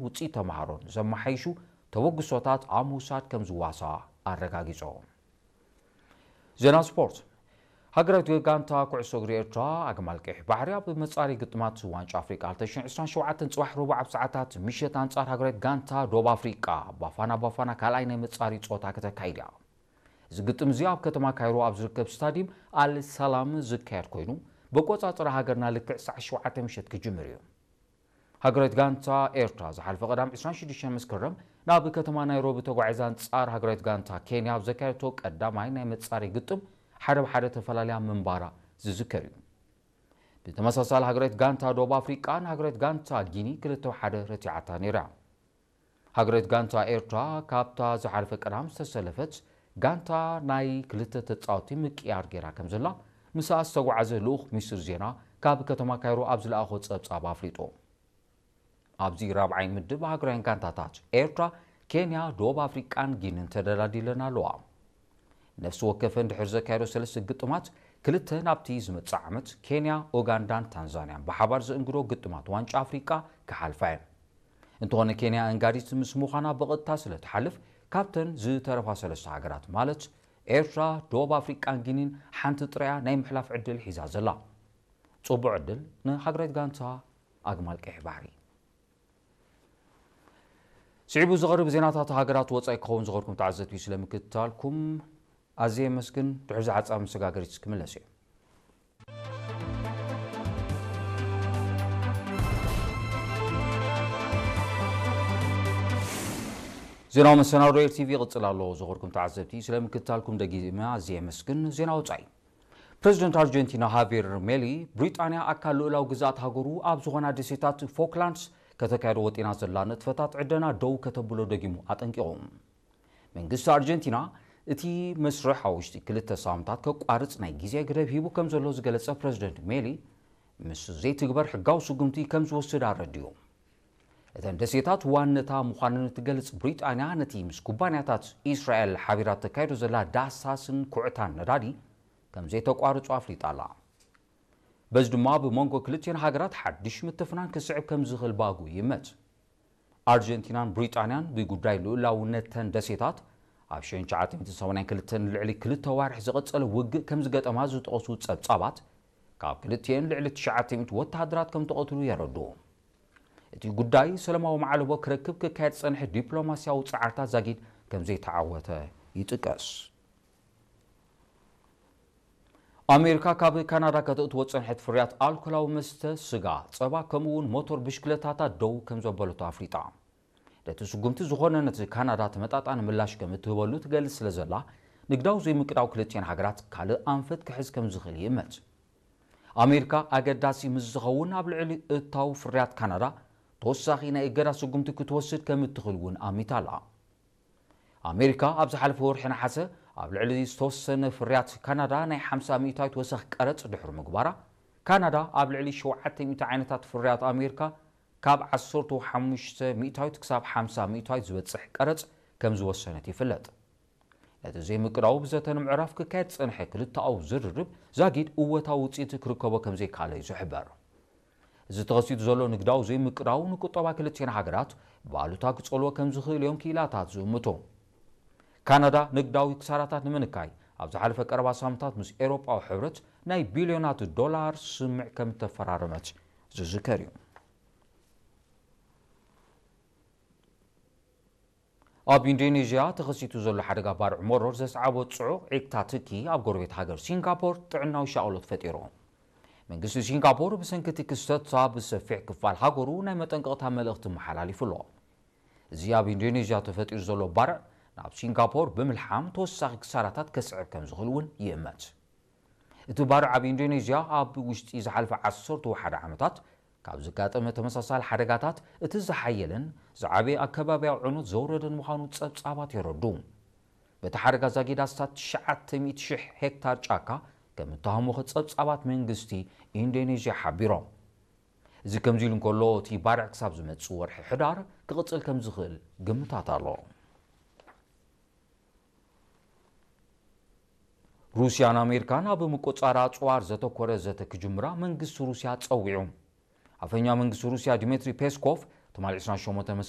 ውፅኢት ተምሃሮን ዘመሓይሹ ተበግሶታት ኣብ ምውሳድ ከም ዝዋሳ ኣረጋጊጾም። ዜና ስፖርት። ሃገራዊት ጋንታ ኩዕሶ እግሪ ኤርትራ ኣግማል ቀይሕ ባሕሪ ኣብ መጻሪ ግጥማት ዋንጫ ኣፍሪቃ ክልተ ሽሕን ዕስራን ሸውዓተን ጽባሕ ረቡዕ ኣብ ሰዓታት ምሸት ኣንጻር ሃገራዊት ጋንታ ዶብ ኣፍሪቃ ባፋና ባፋና ካልኣይ ናይ መጻሪ ጸወታ ከተካይድ እያ። እዚ ግጥም እዚ ኣብ ከተማ ካይሮ ኣብ ዝርከብ ስታዲየም ኣል ሰላም ዝካየድ ኮይኑ፣ በቆጻጽራ ሃገርና ልክዕ ሰዓት ሸውዓተ ምሸት ክጅምር እዩ። ሃገራዊት ጋንታ ኤርትራ ዝሓለፈ ቀዳም ዕስራን ሽዱሽተን መስከረም ናብ ከተማ ናይሮቢ ተጓዒዛ ኣንጻር ሃገራዊት ጋንታ ኬንያ ኣብ ዘካየደቶ ቀዳማይ ናይ መጻሪ ግጥም ሓደ ብሓደ ተፈላለያ ምንባራ ዝዝከር እዩ። ብተመሳሳሊ ሃገራዊት ጋንታ ደቡብ ኣፍሪቃ ንሃገራዊት ጋንታ ጊኒ ክልተ ሓደ ረቲዓታ ነይራ። ሃገራዊት ጋንታ ኤርትራ ካብታ ዝሓለፈ ቀዳም ዝተሰለፈት ጋንታ ናይ ክልተ ተጻወቲ ምቅያር ገይራ ከም ዘላ ምስኣ ዝተጓዓዘ ልኡኽ ሚኒስትር ዜና ካብ ከተማ ካይሮ ኣብ ዝለኣኾ ጸብጻብ ኣፍሊጡ። ኣብዚ ራብዓይ ምድብ ሃገራውያን ጋንታታት ኤርትራ፣ ኬንያ፣ ደቡብ ኣፍሪቃን ጊንን ተደላዲለን ኣለዋ። ነፍሲ ወከፈን ድሕሪ ዘካየዶ ሰለስተ ግጥማት ክልተ ናብቲ ዝመጽእ ዓመት ኬንያ፣ ኡጋንዳን ታንዛንያን ብሓባር ዘእንግዶ ግጥማት ዋንጫ ኣፍሪቃ ክሓልፋ እየን። እንተኾነ ኬንያ ኣንጋዲት ምስ ምዃና ብቐጥታ ስለ ትሓልፍ ካብተን ዝተረፋ ሰለስተ ሃገራት ማለት ኤርትራ፣ ደቡብ ኣፍሪቃን ጊኒን ሓንቲ ጥራያ ናይ ምሕላፍ ዕድል ሒዛ ዘላ። ጽቡቕ ዕድል ንሃገራዊት ጋንታ ኣግማል ቀይሕ ባሕሪ። ስዒቡ ዝቐርብ ዜናታት ሃገራት ወጻኢ ክኸውን ዝኸርኩም ተዓዘብቲ ስለምክትታልኩም ኣዝየ የመስግን። ድሕሪ ዝሓጻብ መሰጋገሪት ክምለስ እየ። ዜናዊ መሰናዶ ኤር ቲቪ ይቕጽል ኣሎ። ዝኸርኩም ተዓዘብቲ ስለምክትታልኩም ደጊመ ኣዝየ የመስግን። ዜና ወጻኢ። ፕረዚደንት ኣርጀንቲና ሃቬር ሜሊ፣ ብሪጣንያ ኣካል ልኡላዊ ግዝኣት ሃገሩ ኣብ ዝኾና ደሴታት ፎክላንድስ ከተካየዶ ወጢና ዘላ ንጥፈታት ዕደና ደው ከተብሎ ደጊሙ ኣጠንቂቑ። መንግስቲ ኣርጀንቲና እቲ መስርሕ ኣብ ውሽጢ ክልተ ሳምንታት ከቋርጽ ናይ ግዜ ገደብ ሂቡ ከም ዘሎ ዝገለጸ ፕረዚደንት ሜሊ፣ ምስ ዘይትግበር ሕጋዊ ስጉምቲ ከም ዝወስድ ኣረዲኡ። እተን ደሴታት ዋነታ ምዃነን እትገልጽ ብሪጣንያ፣ ነቲ ምስ ኩባንያታት ኢስራኤል ሓቢራ ተካይዶ ዘላ ዳህሳስን ኩዕታን ነዳዲ ከም ዘይተቋርጹ ኣፍሊጣ ኣላ። በዚ ድማ ብመንጎ ክልቲኤን ሃገራት ሓድሽ ምትፍናን ክስዕብ ከም ዝኽእል ባጉ ይመት። ኣርጀንቲናን ብሪጣንያን ብጉዳይ ልኡላውነተን ደሴታት ኣብ ሽሕን ትሽዓተ ሚእትን ሰማንያን ክልተን ልዕሊ ክልተ ዋርሕ ዝቐጸለ ውግእ ከም ዝገጠማ ዝጠቐሱ ጸብጻባት፣ ካብ ክልቲኤን ልዕሊ ትሽዓተ ሚእቲ ወተሃደራት ከም ተቐትሉ የረድኡ። እቲ ጉዳይ ሰላማዊ ማዕለቦ ክረክብ ክካየድ ዝጸንሐ ዲፕሎማስያዊ ጻዕርታት ዛጊድ ከም ዘይተዓወተ ይጥቀስ። ኣሜሪካ ካብ ካናዳ ከተእትዎ ዝጸንሐት ፍርያት ኣልኮላዊ መስተ፣ ስጋ፣ ጸባ፣ ከምኡ እውን ሞቶር ብሽክለታታት ደው ከም ዘበለቶ ኣፍሊጣ። ነቲ ስጉምቲ ዝኾነ ነቲ ካናዳ ተመጣጣኒ ምላሽ ከም እትህበሉ ትገልጽ ስለ ዘላ፣ ንግዳዊ ዘይምቅዳው ክልቲኤን ሃገራት ካልእ ኣንፈት ክሕዝ ከም ዝኽእል ይእመት። ኣሜሪካ ኣገዳሲ ምስ ዝኸውን ኣብ ልዕሊ እታው ፍርያት ካናዳ ተወሳኺ ናይ እገዳ ስጉምቲ ክትወስድ ከም እትኽእል እውን ኣሚታ ኣላ። ኣሜሪካ ኣብ ዝሓለፈ ወርሒ ነሓሰ ኣብ ልዕሊ ዝተወሰነ ፍርያት ካናዳ ናይ ሓምሳ ሚእታዊት ወሰኽ ቀረጽ ድሕሪ ምግባራ፣ ካናዳ ኣብ ልዕሊ ሸውዓተ ሚእቲ ዓይነታት ፍርያት ኣሜሪካ ካብ ዓሰርተ ሓሙሽተ ሚእታዊት ክሳብ ሓምሳ ሚእታዊት ዝበጽሕ ቀረጽ ከም ዝወሰነት ይፍለጥ። ነቲ ዘይምቅዳው ብዘተ ንምዕራፍ ክካየድ ዝጸንሐ ክልተኣዊ ዝርርብ ዛጊድ እወታዊ ውጽኢት ክርከቦ ከም ዘይከኣለ እዩ ዝሕበር። እዚ ተኸሲቱ ዘሎ ንግዳዊ ዘይምቅዳው ንቁጠባ ክልቲኤን ሃገራት ብኣሉታ ክጸልዎ ከም ዝኽእል እዮም ክኢላታት ዝእምቱ። ካናዳ ንግዳዊ ክሳራታት ንምንካይ ኣብ ዝሓለፈ ቀረባ ሳምንታት ምስ ኤውሮጳዊ ሕብረት ናይ ቢልዮናት ዶላር ስምምዕ ከም እተፈራረመት ዝዝከር እዩ። ኣብ ኢንዶኔዥያ ተኸሲቱ ዘሎ ሓደጋ ባርዕ መሮር ዘስዓቦ ጽዑቕ ዒቕታ ትኪ ኣብ ጎረቤት ሃገር ሲንጋፖር ጥዕናዊ ሻቕሎት ፈጢሩ። መንግስቲ ሲንጋፖር ብሰንኪ እቲ ክስተት ኣብ ሰፊሕ ክፋል ሃገሩ ናይ መጠንቀቕታ መልእኽቲ መሓላሊፉ ኣሎ። እዚ ኣብ ኢንዶኔዥያ ተፈጢሩ ዘሎ ባርዕ ናብ ሲንጋፖር ብምልሓም ተወሳኺ ክሳራታት ከስዕብ ከም ዝኽእል እውን ይእመት። እቲ ባርዕ ኣብ ኢንዶኔዥያ ኣብ ውሽጢ ዝሓለፈ ዓሰርተ ሓደ ዓመታት ካብ ዘጋጠመ ተመሳሳሊ ሓደጋታት እቲ ዝሓየለን ዝዓበየ ኣከባብያዊ ዕንወት ዘውረደን ምዃኑ ጸብጻባት የረዱ። በቲ ሓደጋ ዛጊድ ኣስታት ትሽዓተ ሚእቲ ሽሕ ሄክታር ጫካ ከም እተሃሞኸ ጸብጻባት መንግስቲ ኢንዶኔዥያ ሓቢሮም። እዚ ከምዚ ኢሉ እንከሎ፣ እቲ ባርዕ ክሳብ ዝመጽእ ወርሒ ሕዳር ክቕጽል ከም ዝኽእል ግምታት ኣሎ። ሩስያን ኣሜሪካን ኣብ ምቁጽጻር ኣጽዋር ዘተኮረ ዘተ ክጅምራ መንግስቲ ሩስያ ጸዊዑ። ኣፈኛ መንግስቲ ሩስያ ዲሜትሪ ፔስኮቭ ትማሊ ዕስራን ሸሞንተን መስከረም